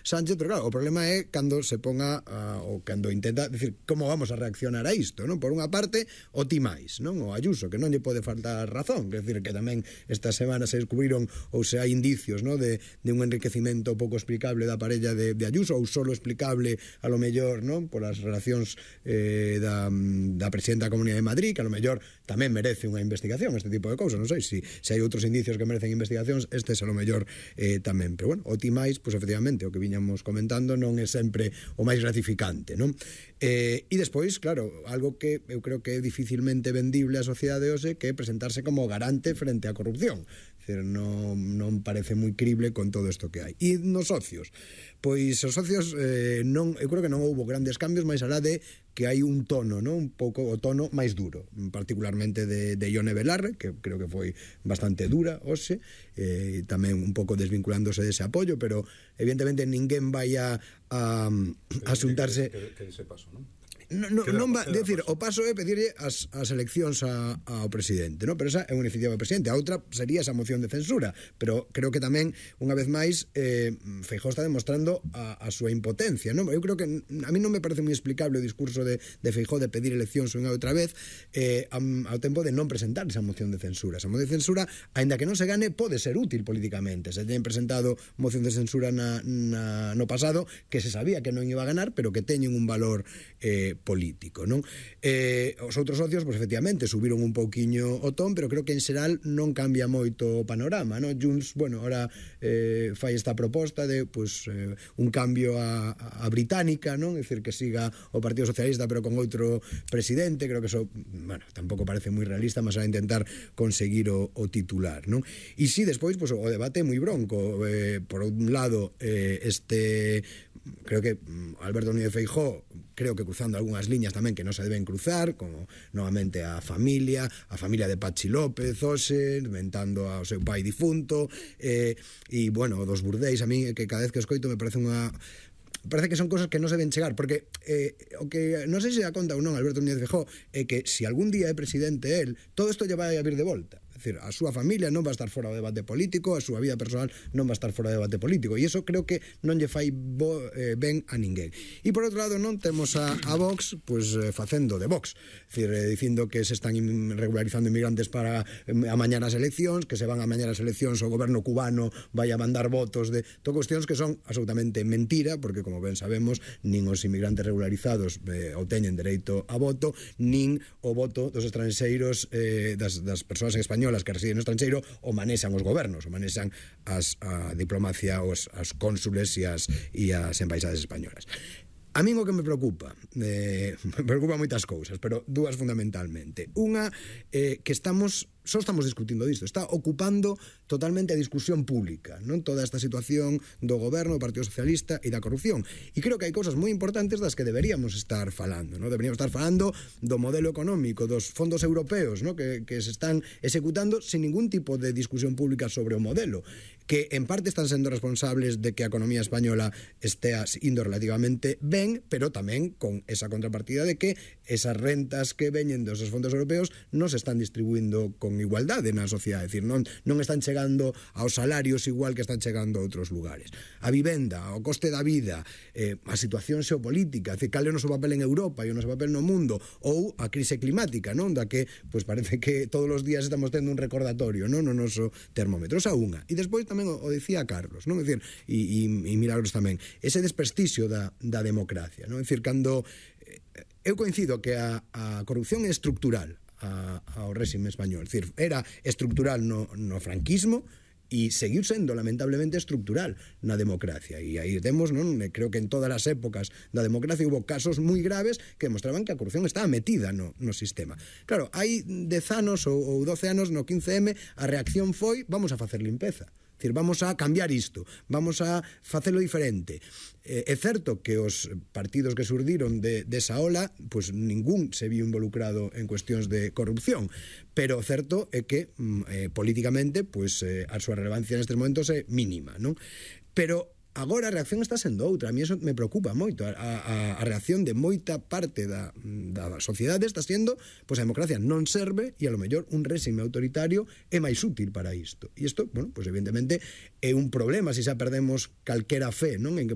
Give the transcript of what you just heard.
Sánchez, pero claro, o problema é cando se ponga ou cando intenta decir como vamos a reaccionar a isto, non? Por unha parte, o ti máis, non? O Ayuso, que non lle pode faltar razón, quer decir que tamén esta semana se descubriron ou se hai indicios, non? De un enriquecimento pouco explicable da parella de Ayuso, ou solo explicable a lo mellor, non? Por as relacións da presidenta da Comunidade de Madrid, que a lo mellor tamén merece unha investigación, este tipo de cousas, non sei se hai outros indicios que merecen investigacións, este é a lo mellor tamén, pero bueno, o ti máis, pois efectivamente, o que viñamos comentando non é sempre o máis gratificante, non? E despois, claro, algo que eu creo que é dificilmente vendible á sociedade hoxe, que é presentarse como garante frente á corrupción. Decir, non parece moi crible con todo isto que hai. E nos socios, pois os socios eu creo que non houbo grandes cambios, máis alá de que hai un tono, non? Un pouco o tono máis duro, particularmente de Ione Belarre, que creo que foi bastante dura hoxe, tamén un pouco desvinculándose dese apoio, pero evidentemente ninguén vai a xuntarse que ese paso, non? Non va, decir, o paso é pedirlle as eleccións ao presidente, non? Pero esa é unha iniciativa do presidente. A outra sería esa moción de censura, pero creo que tamén, unha vez máis, Feijóo está demostrando a súa impotencia, non? Eu creo que a mí non me parece moi explicable o discurso de Feijóo de pedir eleccións unha outra vez ao tempo de non presentar esa moción de censura. Esa moción de censura, aínda que non se gane, pode ser útil políticamente. Se teñen presentado moción de censura no pasado, que se sabía que non iba a ganar, pero que teñen un valor político, non? Os outros socios, pois efectivamente, subiron un pouquiño o ton, pero creo que en xeral non cambia moito o panorama, non? Junts, bueno, ahora fai esta proposta de, pois, un cambio a británica, non? É dicir, que siga o Partido Socialista, pero con outro presidente, creo que eso, bueno, tampouco parece moi realista, mas a intentar conseguir o titular, non? E si, despois, pois, o debate é moi bronco. Por un lado, creo que Alberto Núñez Feijóo, creo que cruzando algunhas liñas tamén que non se deben cruzar, como novamente a familia de Pachi López, hoxe, inventando ao seu pai difunto, e, bueno, dos burdéis, a mí, que cada vez que escoito me parece que son cosas que non se deben chegar, porque o que non sei se dá conta ou non Alberto Núñez Feijóo é que se algún día é presidente él, todo isto lle vai a vir de volta. É dicir, a súa familia non va a estar fora do debate político, a súa vida personal non va a estar fora do debate político, e iso creo que non lle fai ben a ninguén. E por outro lado non temos a Vox pois facendo de Vox, é dicir, dicindo que se están regularizando inmigrantes para amañar as eleccións, que se van a amañar as eleccións, o goberno cubano vai a mandar votos de cuestións que son absolutamente mentira, porque como ben sabemos, nin os inmigrantes regularizados obteñen dereito a voto, nin o voto dos estranxeiros, das persoas españolas que residen no estranxeiro, o manexan os gobernos, o manexan a diplomacia, os cónsules e as embaixadas españolas. A min o que me preocupa moitas cousas, pero dúas fundamentalmente. Unha, que só estamos discutindo disto, está ocupando totalmente a discusión pública, non? Toda esta situación do goberno, do Partido Socialista e da corrupción. E creo que hai cousas moi importantes das que deberíamos estar falando, non? Deberíamos estar falando do modelo económico, dos fondos europeos, non? Que se están executando sin ningún tipo de discusión pública sobre o modelo, que en parte están sendo responsables de que a economía española estea indo relativamente ben, pero tamén con esa contrapartida de que esas rentas que veñen dos fondos europeos non se están distribuindo con igualdade na sociedade, é dicir, non están chegando aos salarios igual que están chegando a outros lugares. A vivenda, o coste da vida, a situación xeopolítica, é dicir, cal é o noso papel en Europa e o noso papel no mundo, ou a crise climática, non? Da que, pois parece que todos os días estamos tendo un recordatorio, non? No noso termómetro, esa unha. E despois tamén o dicía Carlos, non? É dicir, e Milagros tamén, ese desprestixio da democracia, non? É dicir, cando eu coincido que a corrupción é estructural ao réxime español, é dicir, era estructural no franquismo e seguiu sendo lamentablemente estructural na democracia, e aí temos, non? Creo que en todas as épocas da democracia hubo casos moi graves que demostraban que a corrupción estaba metida no sistema. Claro, hai 10 anos ou 12 anos no 15M a reacción foi vamos a facer limpeza. É dicir, vamos a cambiar isto, vamos a facelo diferente. É certo que os partidos que surdiron desa ola, pois ningún se viu involucrado en cuestións de corrupción, pero o certo é que políticamente pois a súa relevancia nestes momentos é mínima, non? Pero agora a reacción está sendo outra. A mí eso me preocupa moito. A reacción de moita parte da sociedade está sendo, pois a democracia non serve e a lo mellor un réxime autoritario é máis útil para isto. E isto, bueno, pois evidentemente é un problema se xa perdemos calquera fe, non? En que